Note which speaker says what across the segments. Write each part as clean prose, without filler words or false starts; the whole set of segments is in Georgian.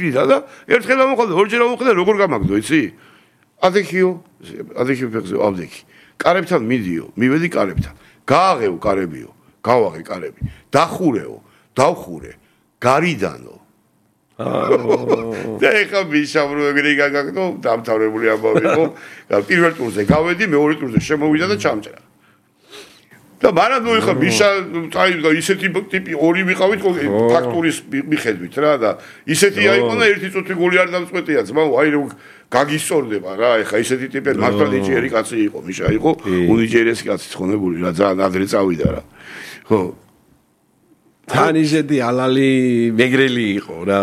Speaker 1: თქნიდა და ერთხელ ამოხდა, ორჯერ ამოხდა, როგორ გამაგდო, იცი? ადექიო ფეხზე, ავდექი. კარებთან მიდიო, მივედი კარებთან. გააღეო კარებიო, გავაღე კარები. დახურეო, დავხურე. გარიდანო. და ეხა მისაუბრე ეგრე გაგაგდო, დამთავრებული ამბავი იყო. პირველ ტურზე გავედი, მეორე ტურზე შემოვიდა და ჩამჭრა. და მაგრამ ნუ ეხა მისა წაიდგა ისეთი ტიპი ორი ვიყავით ფაქტურის მიხედვით რა და ისეთი აიყო და ერთი წუთი გოლი არ დამწყვეტია ძმაო აი რომ გაგისწორდება რა ეხა ისეთი ტიპი მართლა ნიჭიერი კაცი იყო მიშა იყო უნიჭიერესი კაცი ცხონებული რა ძალიან ადრე წავიდა რა ხო თანიზედი ალალი მეგრელი იყო რა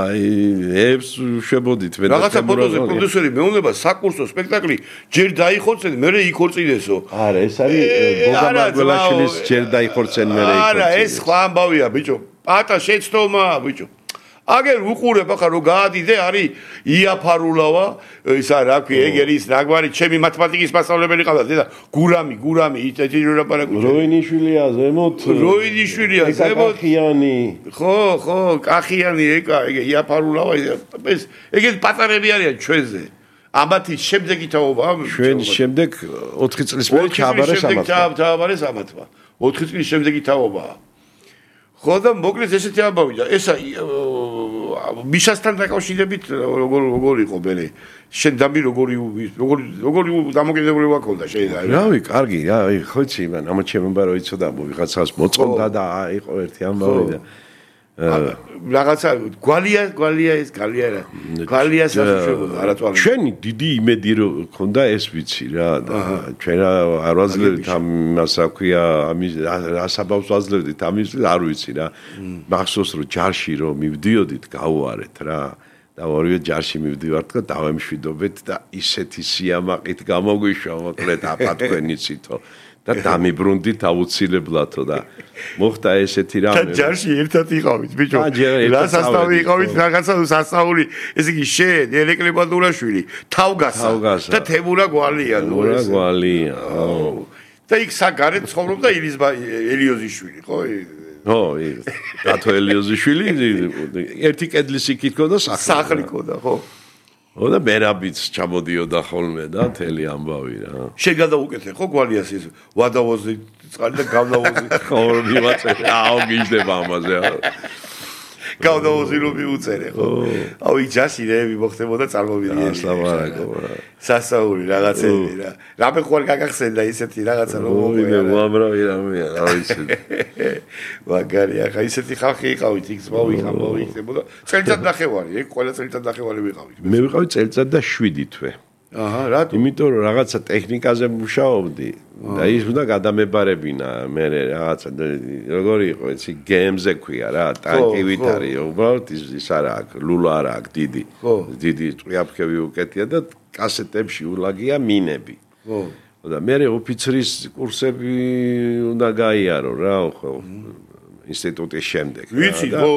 Speaker 1: ებს შვებოდით მე რაღაცა ფოტოზე პროდიუსერი მეუნება საკურსო სპექტაკლი ჯერ დაიხორცენ მე იქორწინესო
Speaker 2: არა ეს არის გოგა მარგველაშვილის ჯერ დაიხორცენ მე იქორწინეს
Speaker 1: არა ეს სხვა ამბავია ბიჭო პატა შეცდომა ბიჭო აგერ უყურებ ახლა რომ გაადიდე არის იაფარულავა ისა რა ქვია ეგერის რაგვარი ჩემი მათემატიკის მასწავლებელი ყავდა დედა გურამი იტეთი რა პარაკუჩი
Speaker 2: როინიშვილია ზემოთ
Speaker 1: როინიშვილია ზემოთ
Speaker 2: კახიანი
Speaker 1: ხო კახიანი ეგ იაფარულავა ეს ეგ პატარები არიან ჩვენზე ამათი შემდეგი თაობა
Speaker 2: ჩვენ შემდეგ 4 წლის მერე ჩააბარე სამათმა
Speaker 1: 4 წლის შემდეგი თაობაა ხო და მოკლედ ესეთი ამბავი და ესა მიშასთან დაკავშირებით როგორ იყო მე შენ დამი როგორი დამოკიდებულება ქონდა შეიძლება
Speaker 2: რავი კარგი რა ხო იცი მან ამ ჩემება რო იცოდა ვიღაცას მოწყობდა და იყო ერთი ამბავი და რაღაცა გვალია სასუჩებოდა არათვალე
Speaker 1: ჩვენი
Speaker 2: დიდი იმედი რო ქონდა ეს ვიცი რა და ჩვენ არ ვაძლევდით ამას აქვია ამის რასაბავს ვაძლევდით ამის არ ვიცი რა მახსოვს რომ ჯარში რომ მივდიოდით გავუარეთ რა და ორივე ჯარში მივდივართ და დავემშვიდობეთ და ისეთი სიამაყით გამოგვიშვა მოკლედ აპატქვენიცითო და დამიბრუნდით აუცილებლათო და მოხდა ესეთი რამე.
Speaker 1: და ჯარში ერთად იყავით, ბიჭო. რა სასწავლი იყავით, რაღაცა სასწაული, ესე იგი შენ, ერეკლე ბადურაშვილი, თავგასა და თემურა გვალია,
Speaker 2: ნუ ეს. გვალია.
Speaker 1: და იქ საგარეთ ცხოვრობდა ელიოზიშვილი, ხო?
Speaker 2: ხო, დათო ელიოზიშვილი, ერთი კედლის იქით ქონდა
Speaker 1: სახლი ქონდა, ხო?
Speaker 2: და მერაბიც ჩამოდიოდა ხოლმე და მთელი ამბავი რა.
Speaker 1: შენ გადაუკეთე ხო გვალიას ის ვადავოზი წყალი და გავნავოზი.
Speaker 2: ხო მივაწერე. აუ გიждდება ამაზე.
Speaker 1: გავნავოზი რომ მიუწერე ხო. აუ იჯაში რე მიმოხდებოდა წარმოვიდნენ.
Speaker 2: ასლაბარაკო.
Speaker 1: სასაური რაღაცები რა. რამე ხوار გაგახსენდა ისეთი რაღაცა რომ
Speaker 2: მოიგე უამრავი რამეა რა ვიცი.
Speaker 1: მაგარია ხა ისეთი ხალხი იყავით იქ ზმავი ხდებოდა. წელიწად ნახევარი ეგ ყველა წელიწად ნახევარი ვიყავით.
Speaker 2: მე ვიყავი წელიწად და 7 თვე.
Speaker 1: აჰა რატო?
Speaker 2: იმიტომ რომ რაღაცა ტექნიკაზე მუშაობდი და ის უნდა გადამებარებინა მე რაღაცა როგორი იყო იცი გემზე ქვია რა ტანკივით არის უბრალოდ ის არა აქვს ლულა არა აქვს დიდი წვიაფქები უკეთია და კასეტებში ულაგია მინები ხო და მე ოფიცრის კურსები უნდა გაიარო რა ხო ინსტიტუტის შემდეგ
Speaker 1: ვიცი ხო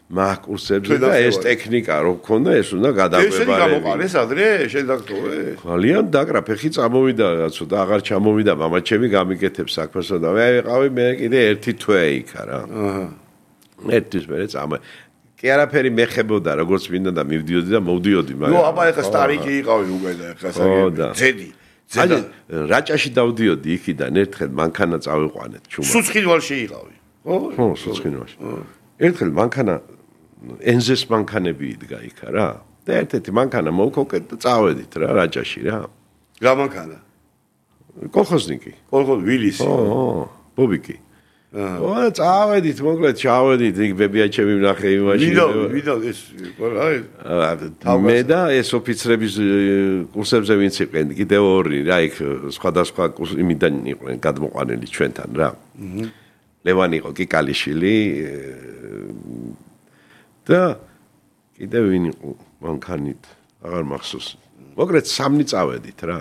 Speaker 2: მაგ კურსებზე და ეს ტექნიკა რო გქონდა ეს უნდა გადავებარებინა.
Speaker 1: ეს გამოყარეს ადრე შედაქტოვე.
Speaker 2: ძალიან დაკრა ფეხი წამოვიდა რაცო და აღარ ჩამოვიდა მამაჩემი გამიკეთებს საქმესო და მე ვიყავი მე კიდე ერთი თვე იქა რა. აჰა. ერთის მერე წამა. კი არაფერი მეხებოდა როგორც მინდა და მივდიოდი და მოვდიოდი მაგრამ.
Speaker 1: ნუ აბა ეხა სტარიკი იყავი უკვე და ეხა ზედი.
Speaker 2: ზედა რაჭაში დავდიოდი იქიდან ერთხელ მანქანა წავიყვანეთ ჩუმად.
Speaker 1: სუცხინვალში იყავი.
Speaker 2: ხო სუცხინვალში. ერთხელ მანქანა ენზეს მანქანები იდგა იქა რა და ერთ-ერთი მანქანა მოვქოკეთ და წავედით რა რაჭაში რა
Speaker 1: რა მანქანა
Speaker 2: კოლხოზნიკი
Speaker 1: ვილისი
Speaker 2: ხო ბობიკი აა წავედით მოკლედ ჩავედით იქ ბებიაჩემი ვნახე იმაში
Speaker 1: ვიდა ეს
Speaker 2: მე და ეს ოფიცრების კურსებზე ვინც იყვნენ კიდევ ორი რა იქ სხვადასხვა იმიდან იყვნენ გადმოყვანილი ჩვენთან რა ლევანი იყო კიკალიშვილი და კიდევ ვინ იყო მანქანით აღარ მახსოვს მოკლედ სამნი წავედით რა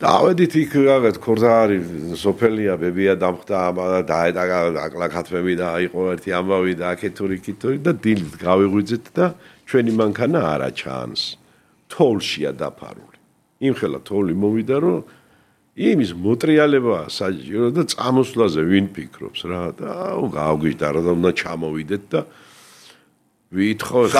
Speaker 2: დავედით იქ რაღაც ქორდარი სოფელია ბებია დამხდა დააკლა-ქათმები და იყო ერთი ამბავი და აქეთური და დილით გავიღვიძეთ და ჩვენი მანქანა არა ჩანს თოვლშია დაფარული იმხელა თოვლი მოვიდა რომ იმის მოტრიალება საჭირო და წამოსვლაზე ვინ ფიქრობს რა და გავგვიჟდა რა და უნდა ჩამოვიდეთ და ვითხოვე